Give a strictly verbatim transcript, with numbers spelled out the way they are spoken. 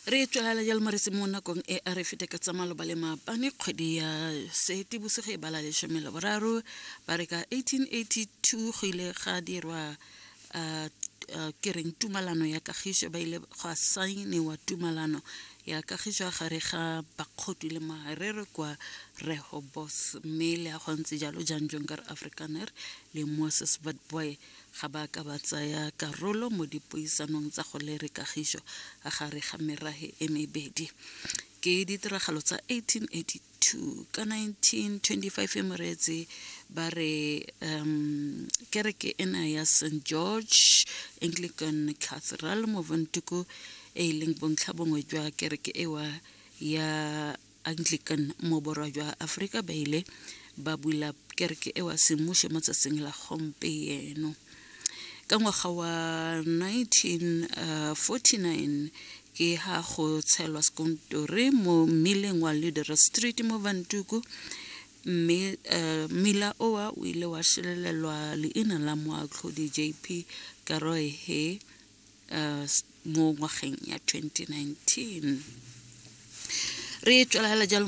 Re tswelela jalo moretsi mo nakong e a re fete ka tsa maloba le maabane, kgwedi ya Seetebosigo e bala lesome le boraro. Ba re ka eighteen eighty-two go ile ga dirwa uh, uh, ke reng, tumalano ya kagišo. Ba ile gwa saeniwa tumalano ya kagišo gare ga Bakgotwi le Maherero kwa Rehoboth. Mme le a go ntse jalo, Jan Jonker Afrikaner le Moses Witbooi ga ba ka ba tsaya karolo mo dipuisanong tsa go lere kagišo a gare ga merahe e mebedi. Ke ditiragalo tsa eighteen eighty-two. Ka nineteen twenty-five, moreetsi, ba re um kereke ena ya Saint George Anglican Cathedral mo Windhoek, e e leng bontlha bongwe jwa kereke ewa ya Anglican mo borwa jwa Aforika, ba ile ba bula kereke ewa semmušo mo tsatsing la gompieno. Ka ngwaga wa nineteen forty-nine ke ha go tshelwa sekontore mo mmileng wa Leader Street mo Windhoek, mme uh, mmila oa o ile wa šelelelwa leina la moatlhodi J P Karoehe uh, mo ngwageng ya twenty nineteen. Re tswelela jalo.